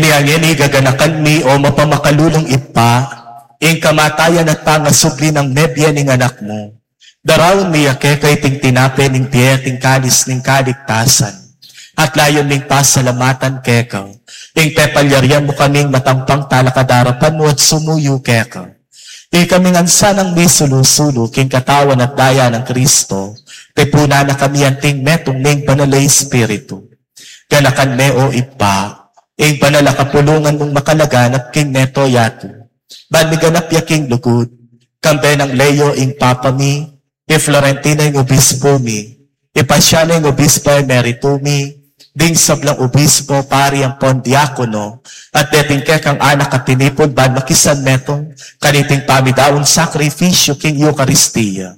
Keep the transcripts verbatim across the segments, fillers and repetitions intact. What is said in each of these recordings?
Nia ngeni gaganakan mi, o mapamakalulung Ibpa, ing kamatayan at pangasubli nang mebie ning Anak mu. Daraun mi ya keka iting tinape ning bie at ing kalis ning kaligtasan. At layun ming pasalamatan keka ing pepalyarian mu kaming matampang talakad king arapan mu at sumuyu keka. Ikami ngan sanang misulu-sulu king katawan at daya nang Kristo, tipunan na kami anting metung ning Banal a Espiritu. Ganakan me, o Ibpa, ing banal a kapulungan mung makalaganap king mabilug a yatu, ban miganap ya king lugud, kambe nang Leo ing Papa mi, i Florentino ing Obispo mi, i Pasiano ing Obispo Emerito mi, ding sablang obispo, pari ampon diakono, at deting kekang anak a tinipun ban makisanmetung kaniting pamidaun sakrifisyu king Eukaristia.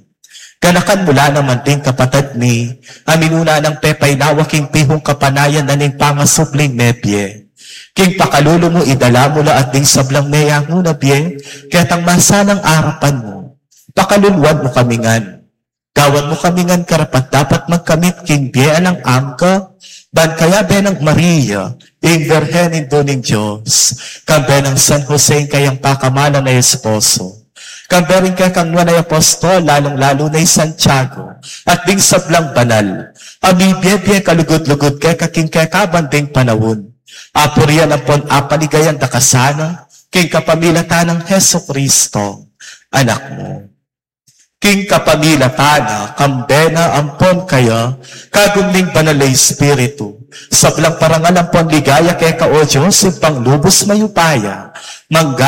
Ganakan mu la naman ding kapatad mi a minuna nang pepainawa king pihung kapanayan na ning pangasubling mebie. King pakalulu mu, idala mu la at ding sablang meyangu na bie ketang masalang arapan mu. Pakaluluan mu kami ngan. Gawan mu kami ngan karapat-dapat magkamit king bie alang angga, ban kayabe nang Maria, ing Birhen Indu ning Dios, kambe nang San Jose ing kayang pakamalan a esposo, kambe ring kekang nuan a apostol, lalung-lalu na i Santiago, at ding sablang banal a mibie-bie kalugud-lugud keka king kekaban ding panaun, apurian ampon apaligayan da ka sana king kapamilatan nang Jesucristo, Anak mu. King kapamilatan na, kambe na ampon kaya, kagum ning Banal a Espiritu, sablang parangal ampon ligaya keka, o Dios, Ibpang lubus mayupaya, mangga